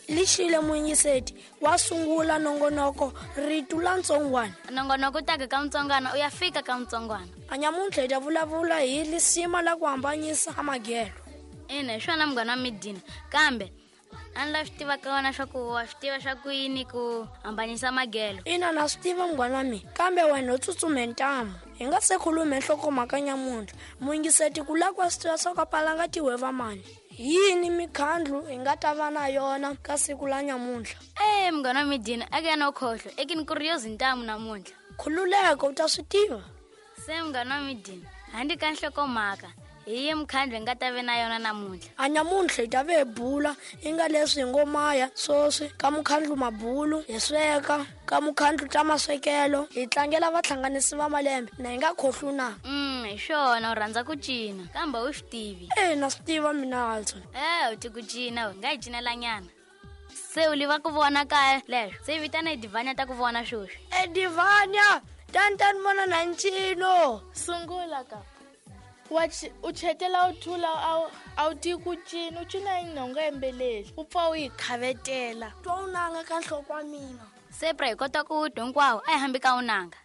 Lixile muyingiseti wa sungula nongonoko ritu la ntsongwana. Nongonoko u taka ka mutsongwana u ya fika ka mutsongwana. A nyamuntlha hi ta vulavula hi lisima la ku hambanyisa a magelo. Ina hi swona munghana wa midina kambe a ni la swi tiva ka wena swa ku wa swi tiva swa ku yini ku hambanyisa magelo. Ina na swi tiva munghana wa mina kambe wena u tsutsume ntamu. Hi nga se khulume nhlokomhaka nyamuntlha muyingiseti ku la ku wa swi tiva swa ku a palanga tihweva mani. Hi yini mikhandlu hi nga ta va na yona ka siku la nyamuntlha? E munghana wa midina a ke no khohlwa ekini ku ri yo zintamu namuntlha. Khululeka u ta swi tiva. Se munghana wa midina handle ka nhlokomhaka hi yi mukhandlu hi nga ta ve na yona namuntlha. A nyamuntlha hi ta ve hi bula i nga leswi hi ngo maya swoswi ka mukhandlu mabulu hi sweka ka mukhandlu ta maswekelo hi tlangela vahlanganisi va malembe na hi nga khohlwi na. Hi swona u rhandza ku cina kambe u swi tivi. E na swi tiva mina Alson. E u ti ku cina we nga hi cinelanyana. Se u liva ku vona kaya leswo se vitana edivhanya ta ku vona swoswi. Edivhanya tani tani vona na ncino. Sungula ka wa u chetela u thula a wu tivi ku cina u cina yini u nga yimbeleli u pfa u yi khavetela. Twa u nanga ka nhloko wa mina. Se pra hi kota ku twa hinkwawo a hi hambi ka u nanga.